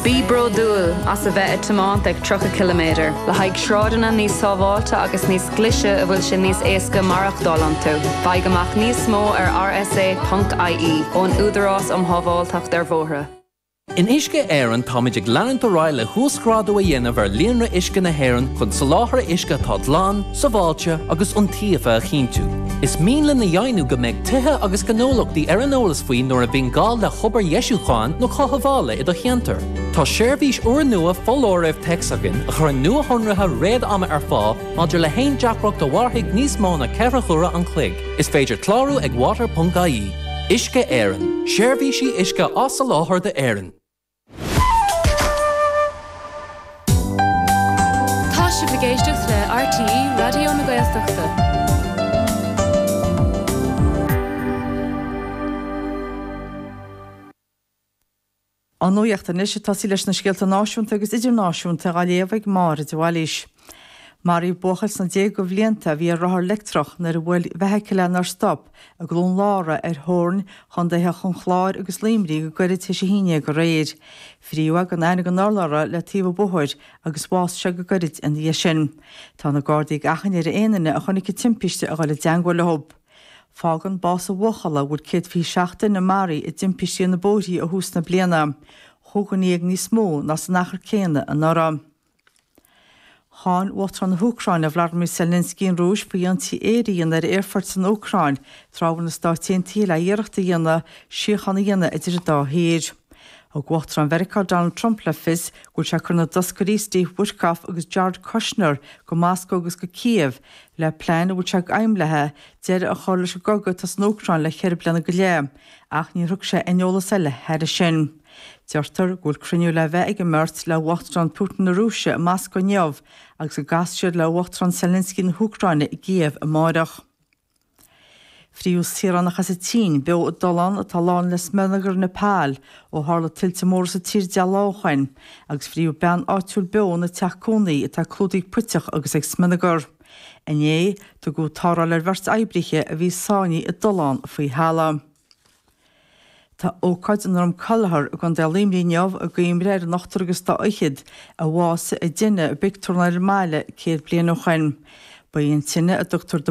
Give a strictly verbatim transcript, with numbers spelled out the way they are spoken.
Bí bródúil as a bheith ag tiomáint ag tríocha ciliméadar, le haghaidh sráideanna níos sábháilte agus níos glaise a bhfuil sé níos éasca maireachtáil iontu. Faigh amach níos mó ar R S A ponc I E ón Údarás um Shábháilteacht ar Bhóithre. In Uisce Éireann táimid ag leanúint ar aghaidh le huasghrádú a dhéanamh ar líonra uisce na hÉireann chun soláthar uisce atá glan, sábháilte agus iontaofa a chinntiú. Is mian linn a dheimhniú go mbeidh tithe agus gnólachtaí ar an eolas faoi nuair a bhíonn gá le hobair dheisiúcháin nó cothabhála i do cheantar. Tá seirbhís úrnua foláirimh téacs againn a chuireann nuashonruithe réad-ama ar fáil maidir le haon deacracht a mhairfidh níos mó ná ceithre huaire an chloig. Is féidir clárú ag water ponc I E. Uisce Éireann, seirbhísí uisce á soláthar d'Éirinn. Tá sibh ag éisteacht le R T É Raidió na Gaeltachta. An nuacht anois ag tosaí leis na scéalta náisiúnta agus idirnáisiúnta á léamh ag Máire de Bhailís. Maraíodh buachaill sna déaga blianta a bhí ar rothar leictreach nuair a bhuail feithicil é nár stop i gCluain Lára ar theorainn chontaetha an Chláir agus Luimnigh go gairid tar éis a haon déag aréir. Frítheadh é gan aithne gan urlabhra le taobh an bhóthair agus bhásaigh sé go gairid ina dhiaidh sin. Tá na Gardaí ag achainí ar aon duine a chonaic an timpiste a dhul i dteagmháil leo. Fágann bás an bhuachalla go bhfuil céad fiche seacht duine maraithe i dtimpistí ar na bóithre ó thús na bliana, chúig dhuine dhéag níos mó ná san achar céanna anuraidh. Cháin Uachtarán na hÚcráine Vladimir Zelensky an Rúis faoi ionsaí aeir a dhéanamh ar aerfort san Úcráin tráth a bhfuil na Stáit Aontaithe le iarracht a dhéanamh síocháin a dhéanamh idir an dá thír. Thug Uachtarán Mheiriceá Donald Trump le fios go bhfuil sé ag cur na dtoscairí Steve Witkoff agus Jared Kushner go Moscó agus go Kiev le plean a bhfuil sé ag aidhm léi deireadh a chur leis an gcogadh atá san Úcráin le ceithre bliana go leith, ach níor thug sé aon eolas eile thairis sin. Deirtear go bhfuil cruinniú le bheith ag an mbeirt le Uachtarán Putin na Rúise i Moscó inniu agus go gcasfaidh siad le Uachtarán Zelensky na hÚcráine i gCíév amárach. Frítheadh saoránach as an tSín beo i dtollán atá lán le smionagar Nepal ó tharla tuilte móra sa tír deich lá ó shin, agus frítheadh bean áitiúil beo ina teach cónaí atá clúdaithe ag puiteach agus ag smionagar. Inné, tugadh tarrtháil ar bheirt oibrithe a bhí sáinnithe i dtollán faoi thalamh. Tá ócáid i nDroim Conchubhair i gContae Luimnigh inniu i gcuimhne ar an ochtar agus dá fhichead a bhásaigh i dtine i bpictiúrlann ar an mbaile céad bliain ó shin. Ba í an tine a dtugtar